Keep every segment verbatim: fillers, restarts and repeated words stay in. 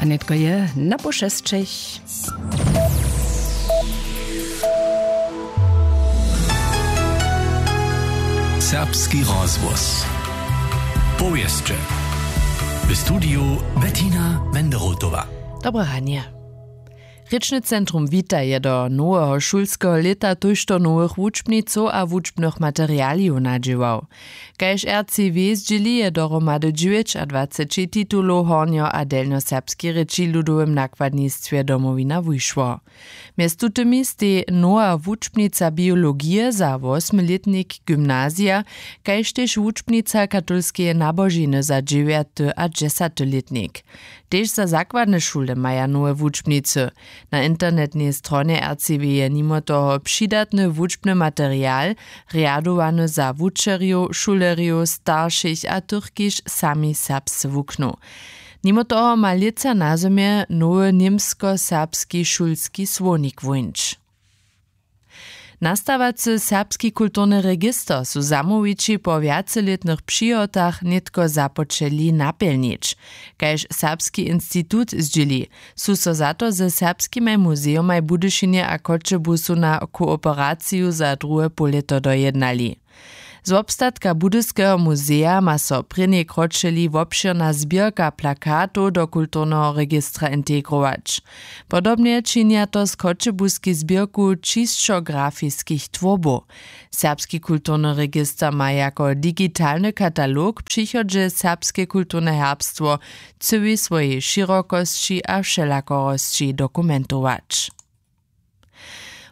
A nětko je na poł šesćich. Serbski rozhłos. Powěsće. W studiju Bettina Wenderotowa. Dobre ranje. Rěčny centrum Wita je do noweho šulskeho lěta tójšto nowych wučbnicow a wučbnych materialijow nadźěłał. Kaž R C W zdźěli, je dohromady dźewjećadwaceći titulow w hornjo- a delnjoserbskej rěči w ludowym nakładnistwje Domowina wušło. Mjez tutymi stej nowa wučbnica biologije za wosmilětnik gymnazija, kaž tež wučbnica katolskeje nabožiny za dźewjaty a dźesaty lětnik. Tež za zakładne šule maja nowe wučbnicy. Na internetnej stronje R C W je nimo toho přidatny wučbny material, rjadowany za wučerjow, šulerjow, staršich a tych, kiž sami serbsce wuknu. Nimo toho ma lětsa na zymje nowy němskoserbski šulski słownik wuńć. Nastawacy serbski kulturny register su zamołwići po wjacelětnych přihotach nětko započeli napjelnić. Kaž Serbski institut zdźěli, su so za to ze serbskimaj muzejomaj w Budyšinje a Choćebuzu na kooperaciju za druhe połlěto dojednali. Z wobstatka Budyskeho muzeja ma so prěnjej kročeli wobšěrna zběrka plakatow do kulturneho registra integrować. Podobnje činja to z choćebuskej zběrku čisćografiskich twórbow. Serbski kulturny register ma jako digitalny katalog w přichodźe serbske kulturne herbstwo w cyłej swojej šěrokosći a wšelakorosći dokumentować.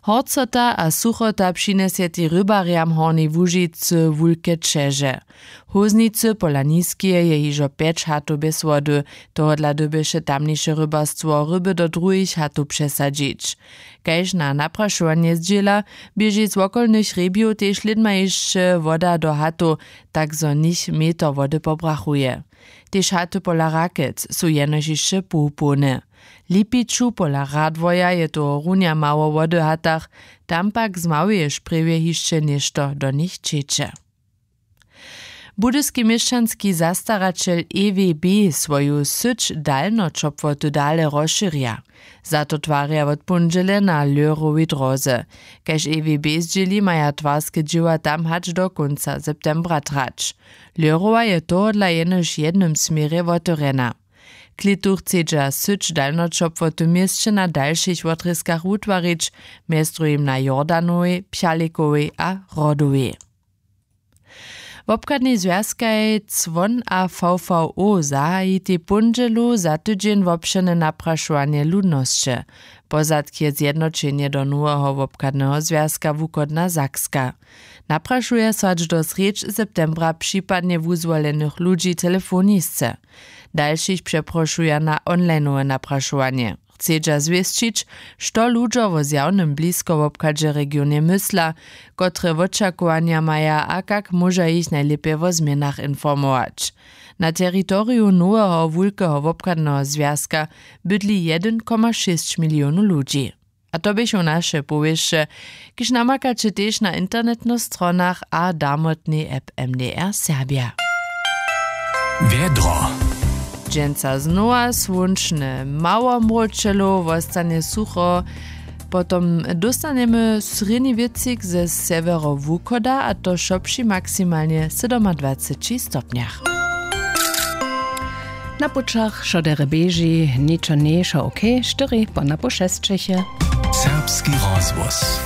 Horcota a suchota přinjesetej rybarjam Hornjej Łužicy wulke ćeže. W Hóznicy pola Niskeje je hižo pjeć hatow bjez wody, tohodla dyrbješe tamniše rybarstwo ryby do druhich hatow přesadźić. Kaž na naprašowanje zdźěla, běži z wokolnych hrjebjow tež lědma hišće woda do hatow, tak zo nich meter wody pobrachuje. Tež haty pola Rakec su jenož hišće połpołne. W Lipiću pola Radworja je tohorunja mało wody w hatach, tam pak z małeje šprjewje hišće něšto do nich ćeče. Budyski měšćanski zastaraćel E W B swoju syć dalnoćopłoty dale rozšěrja. Za to twarja wot póndźele na Lehrowej dróze. Kaž E W B zdźěli, maja twarske dźěła tam hač do kónca septembra trać. Lehrowa je tohodla jenož w jednym směrje wotewrjena. Klětu chcedźa syć dalnoćopłoty měsće na dalšich wotrězkach wutwarić, mjez druhim na Jordanowej, Pjalikowej a Rodowej. Wobchadnej zwjazkaj Cwon a V V O zahajitej póndźelu za tydźeń wobšěrne naprašowanje ludnosće. Pozadk je zjednoćenje do noweho wobchadneho zwjazka Wuchodna Sakska. Naprašuja so hač do srjedź septembra připadnje wuzwolenych ludźi telefonisce. Dalšich přeprošuja na onlineowe naprašowanje. Chcedźa zwěsćić, što ludźo wo zjawnym bliskowobchadźe w regionje mysla, kotre wočakowanja maja a kak móža jich najlěpje wo změnach informować. Na teritoriju noweho wulkeho wobchadneho zwjazka bydli jedyn koma šěsć milionow ludźi. A to běchu naše powěsće, kiž namakaće tež na internetnych stronach a damotnej app M D R Serbja. Wjedro. Dźensa znowa słónčne, mało mróčelow, wostanje sucho. Potom dóstanjemy srědni wětřik ze sewjerowuchoda, a to wšo při maksimalnje sydomadwaceći stopnjach. Na pućach wšo derje běži, ničo njejšo, ok, štyri po napoł šesćich je. Serbski rozhłos.